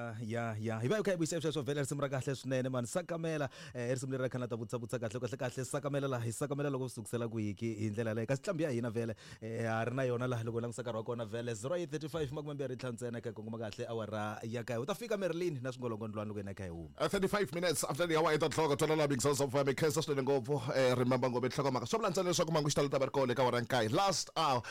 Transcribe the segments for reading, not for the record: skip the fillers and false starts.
Ya ya ya, hi va hi kha hi vuyisa sweswo vhele risimu ra kahle swinene mani sakamela eh, risimu leri ra khana ta vutisa vutisa kahle kahle kahle sakamela laha hi sakamela loko swi sukusela kwiki hi ndlela leyo kasi tlambi ya hina vhele eh, ha ri na yona laha loko langutisa nkarhi wa kona vhele 0835 25 ntsena ka kongoma kahle awara ya kaye u ta fika Merlin na swingolongondlwana loko yena kha hi huma. 35 minutes after the hour 8 o'clock twanana big sounds of mi khensa swinene ngopfu remember ngopfu nhlokomhaka swi vula ntsena leswaku mangu xitalo ta va ri kona eka awara ya nkaye last hour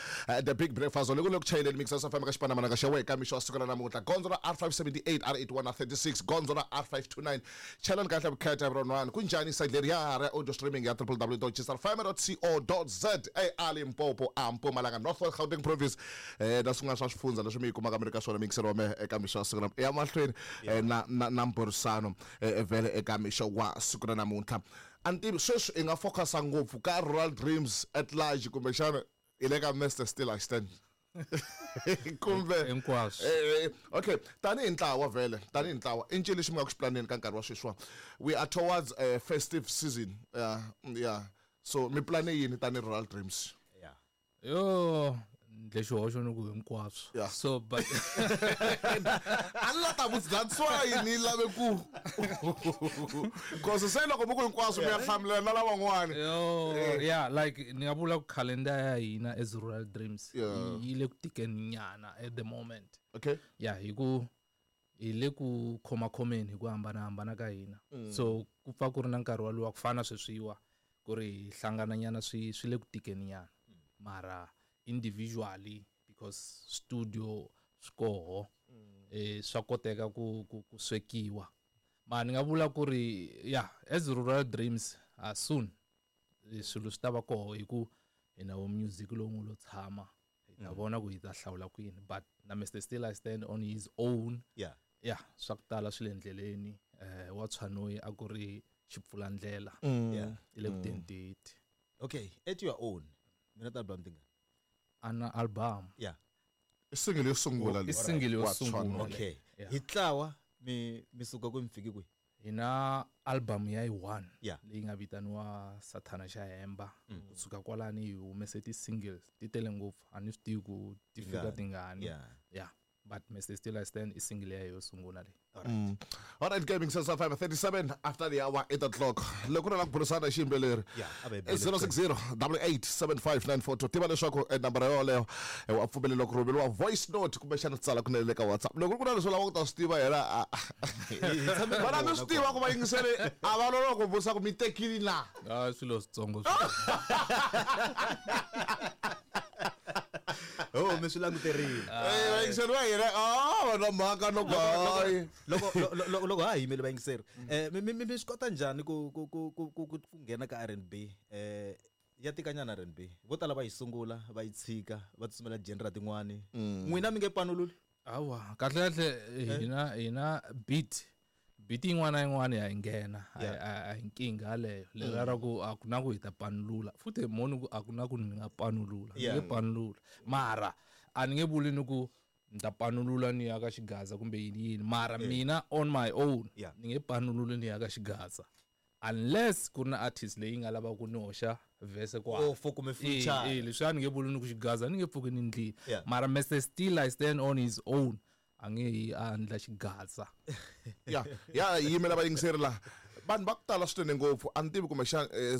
the big breakfast loko le ku chayeleni mix sounds of ka xipanamananga xa wena ka mixo wa siku ra namuntlha gondzo ra R578 R81 na 36 gondzo ra R529 chalani kahle vukheta everyone ku njhani side leri ya ra audio streaming ya www.gsrfm.co.za a Limpopo a Mpumalanga North West Gauteng province na swin'wana swa swifundza leswi mi yi kumaka mi ri ka swona miyingiselo wa mehe eka mixo wa siku ra ya mahlweni na na na mbhurisano vhele eka mixo wa siku ra namuntlha a ni tivi sweswi i nga focusa ngopfu ka Rural Dreams at large kumbexana hi le ka Mister Still I Stand kumbe hinkwaswo. Okay, tanihi ntlawa vhele, tanihi ntlawa i ncini lexi mi nga ku xi planeni ka nkarhi wa sweswiwa? We are towards a festive season, yeah, so mi plane yini tanihi Rural Dreams? Yeah. Yo, ndle xihoxo ni ku hinkwaswo. Yeah. So but a ni la ta vutisa, that's why ni lave ku cause se loko mi ku hinkwaswo mi ya hlamulela na lavan'wani. Yo, yeah, like ni nga vula ku calendar ya hina as Rural Dreams Yeah. yi le ku tikeni nyana at the moment. Okay. Yeah, hi ku hi le ku khomakhomeni hi ku hambanahambana ka hina. So ku pfa ku ri na nkarhi walowa ku fana sweswiwa ku ri hi hlangana nyana swi le ku tikeni nyana. Mara individually because studio swi koho, swa koteka ku swekiwa. Mara ni nga vula ku ri yeah, as Rural Dreams soon swilo swi ta va koho hi ku hi na wo music lowu nga lo tshama hi ta vona ku hi ta hlawula kwini, but na Mister Still I Stand on his own. Yeah. Yeah, swa ku tala swi le ndleleni. Wa Tshwanoyi a ku ri xipfulandlela. Yeah. I le ku teni date. Okay, at your own. Mina ta album tinga. Ana album. Yeah. I single yo sungula I single yo Wa sungula. Tshwanoyi. Okay. Yeah. Hi tlawa mi suka kwi mi fiki kwi? Hi na album ya yi 1 Yeah. leyi nga vitaniwa Sathana xa Hemba. Kusuka kwalani hi humese ti singles ti tele ngopfu, a ni swi tivi ku ti fika Tingani. tingani. Yeah. Yeah. But Mister Still I Stand i single ya yo sungula leyi. All right. All right, gaming since 5:37 after the hour 8 o'clock. Loko ri la ku burisana hi xiyimbeleri. Yeah, a va hi bele 060 double eight seven five nine four two. Tiva leswaku nambara yoleyo wa pfumeleriwa ku rhumeriwa voice note kumbexana tsala kunene le ka WhatsApp. Loko ku ri na leswi u lavaka ku ta swi tiva yena, Hi tshame na vana mi vona swi tiva ku vayingiseri a va loloha ku vutisa ku mi tekile na. Ah, swilo switsongo. Oh, mi swi languterile. Vayingiseri va hina, va na mhaka no ku hayi. Loko ha yimele vayingiseri, mi swi kota njhani ku nghena ka R&B? Ya tikanyana R&B. Vo tala va yi sungula, va yi tshika, va tsutsumela genre tin'wani. N'wina mi nge panululi? Hawa, kahle kahle hina beat yin'wana na yin'wana ya yi nghena. Yeah. A hi nkingha yaleyo. Leriya ra ku a ku na ku hi ta panulula. Futhi moni ku a ku na ku ni nga panulula. Ni nge Yeah. panulula. Mara a ni nge vuli ni ku ni ta panulula ni ya ka xigaza kumbe yini yini. Mara mina on my own Yeah. ni nge panululi ni ya ka xigaza. Unless ku ri na artist leyi nga lavaka ku ni hoxa verse kwala. Oh, for kumbe feature. Leswiya ni nge vuli ni ku xigaza ni nge pfuki ni ndlile. Yeah. Mara Mister Still I Stand on his own. A nge yi a endla xigaza. Ya, ya yimela vayingiseri laha. Vanhu va ku tala swinene ngopfu, a ni tivi kumbexana